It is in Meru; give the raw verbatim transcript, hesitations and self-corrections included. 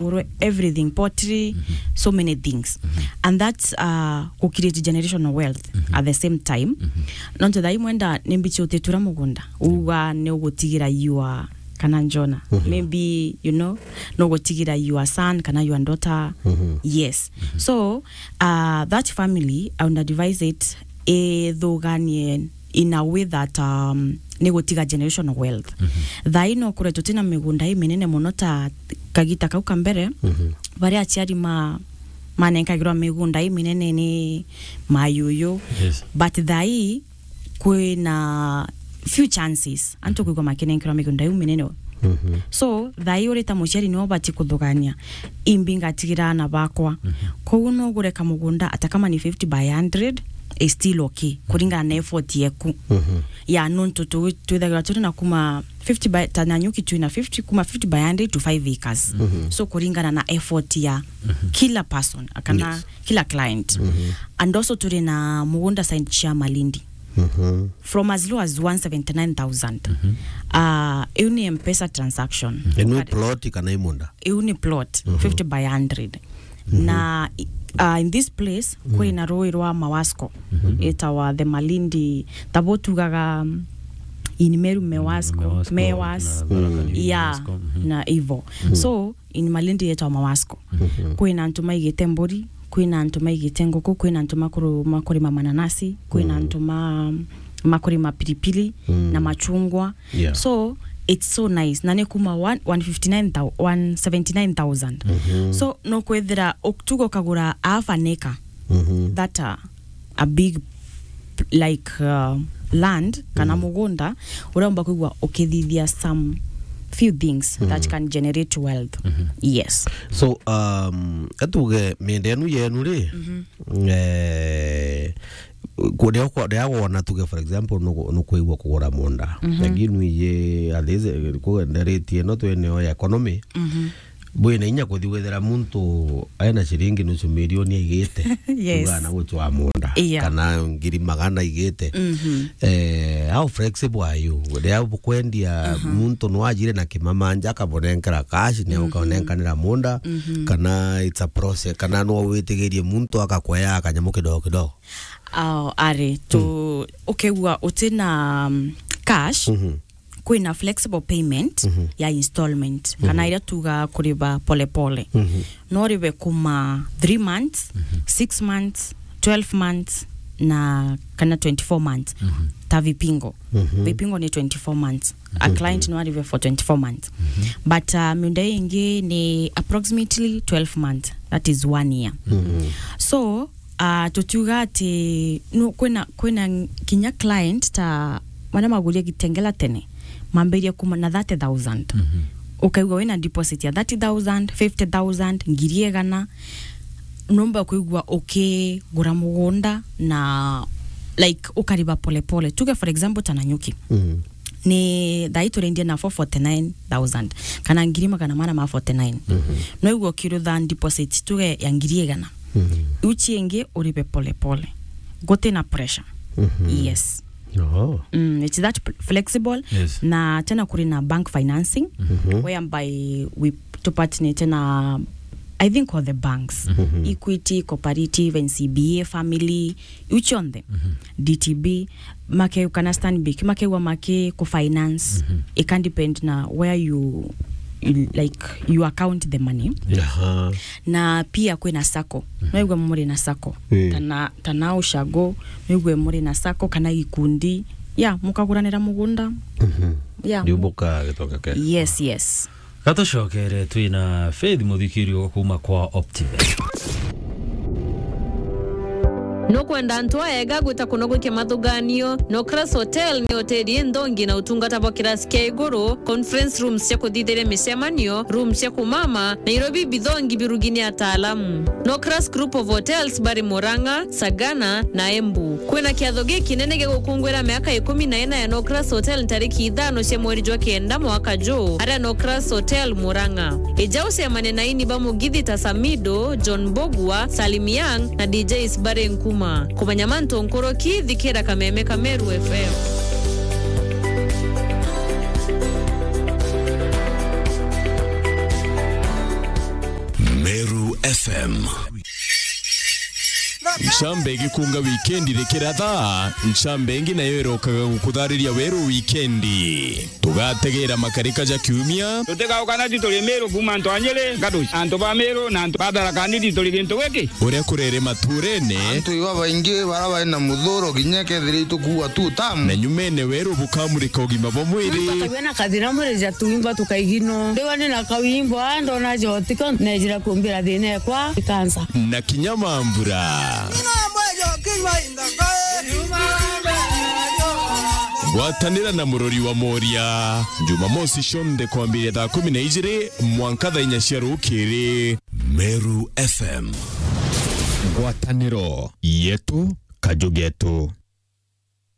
ngurwe, everything, pottery, so many things. And that's, uh, ku create generational wealth at the same time. Nontu thaa ii mwenda ni mbichi utitura mugunda, uga ni ugutigira your kana njona. Maybe, you know, no gutigira your son kana your daughter. Yes. So, uh, that family, I would advise it ithuganie in a way that, um, ni gutiga generational wealth. Thaa ii no kure tutina migunda iminene muno ta kagita kau ka mbere, baria aciari ma-, manenkagirwa migunda iminene ni mayuyu. Yes. But thaa ii kwina few chances antu kwigua makinenkerwa migunda iu minene. So, thaa ii uri ta muciari niwe ubati kuthugania, imbi ngatigira aana bakwa. Koguo no ugure kamugunda, ata kama ni fifty by hundred, is still okay, kuringana na effort yeku. Ya, nontu tu-, twithagirwa turi na kuma fifty by, ta Nanyuki twina fifty, kuma fifty by hundred to five acres. So, kuringana na effort ya kila person, kana kila client. And also turi na mugunda side cia Malindi. From as low as one seventy-nine thousand. Ah, iu ni M-Pesa transaction. Inu plot kana imunda? Iu ni plot, fifty by hundred. Na, uh, in this place, kwina rui rwa Mawasco. Itawa the Malindi, tabo tugaga, um, in Meru Mewasco, Mewasco, Mewas. Na Tharaka Nithi Mewasco, na ivo. So, in Malindi yetwa Mawasco. Kwina antu maigite mburi, kwina antu maigite nguku, kwina antu makuru-, makurima mananasi, kwina antu ma-, makurima pilipili na machungwa. Yeah. So, it's so nice. Na ni kuma one, one fifty-nine thou-, one seventy-nine thousand. So, no kwithira uktuga ukagura half an acre. That, uh, a big, like, uh, land kana mugunda, uromba kwigua ukithithia some few things that can generate wealth. Yes. So, um, atuge mienda enu yenu ri, eh, ku-, ria kwa-, ria wona tuge, for example, nuku-, nukwigua kugura munda. Lakini nuiji, at least, eh, ku-, ndereti ino twineo ya economy, bwina inya kuthi withira muntu ena ciringi nusu milioni aigite, yes, kuga na gucwa munda, yeah, kana ngiri magana aigite. Eh, how flexible are you? Riria bukwendia, muntu no ajire na kimamanja, akabonenkera cash, ne ukanenkanira munda, kana it's a process, kana no witigirie muntu akakwea kanyamu kidogo kidogo? Ah, ari, tu, ukigua utina, um, cash, kwina flexible payment ya installment, kana iria tuga kuriba pole pole. No ribe kuma three months, six months, twelve months, na kana twenty-four months. Ta Vipingo. Vipingo ni twenty-four months. A client no aribe for twenty-four months. But, uh, miunda ingi ni approximately twelve months. That is one year. So, Ah, tutiuga ati, no, kwina, kwina kinya client ta maria maguria Kitengela tene, mambirie kuma na thirty thousand. Ukaigua wina deposit ya thirty thousand, fifty thousand, ngiri igana, numba kwigua ukigura mugunda na, like, ukariba pole pole. Tuge, for example, ta Nanyuki. Ni thaa ii turendia na four forty-nine thousand, kana ngiri magana mana ma forty-nine. No igua ukirutha deposit tuge ya ngiri igana. Iu ciingi uribe pole pole. Gutina pressure. Yes. Oh. Mm, it's that p-, flexible. Yes. Na tena kuri na bank financing, whereby we tupartnerite na, I think, all the banks. Equity, Cooperative, N C B A, Family, iu cionthe. D T B, make, kana Stanbic, makegwa maki ku finance. It can depend na where you, you, like, you account the money. Aha. Na pia kwina sacco. No igwe muri na sacco. Eh. Tana, tana ushago, no igwe muri na sacco kana gikundi. Ya, mukaguranira mugunda. Ya. Ndiubuka gitonga ke. Yes, yes. Gatucokere twina Faith Muthikirio kuuma kwa Optiven. Nukwenda antu aega gwita kunogokia mathuganio? Nocras Hotel ni hoteli inthongi na utungata bwa kirasi kia iguru, conference rooms cia kuthithiria micemanio, rooms cia kumama, Nairobi bithongi birugi ni ataalamu. Nocras Group of Hotels bari Murang'a, Sagana na Embu. Kwina kiatho gikinene gia gukungwira miaka ikumi na ina ya Nocras Hotel ntariki ithano cia mweri jwa kenda mwaka juu, aria Nocras Hotel Murang'a. Ija ucemane na aini ba mugithi ta Samido, John Mbugua, Salim Young na D Js bari Nkuma. Kumanya mantu nkuruki, thikira Kameme ka Meru F M. Meru F M. Ncambe igikunga wikendi rikiratha, ncambe ingi nayo irokaga gukuthariria weru wikendi. Tugategera makarika ja kiumia. Tutigaukana ti turi Meru kuuma antu a Nyeri, Gaduci, antu ba Meru na antu ba Tharaka Nithi turi gintu giki. Uria kurere maturene. Antu iba baingi bara bari na muthuro kinya kethira itukuua tu tamu. Na nyumene weru bukamurika ugima bwa mwiri. Muntu akagua na kathina mwiri ja tuimba tukaigino. Ndigwa ni na kawimbo, a ndona jotiko, nejira kumbira thina ekwa ikansa. Na kinya mambura. Gwatanira na murori wa Moria, Jumamosi cionthe kwambiria thaa kumi na ijiri mwanka thaa inya cia rukiri. Meru F M. Ngwataniro yetu, kaju getu.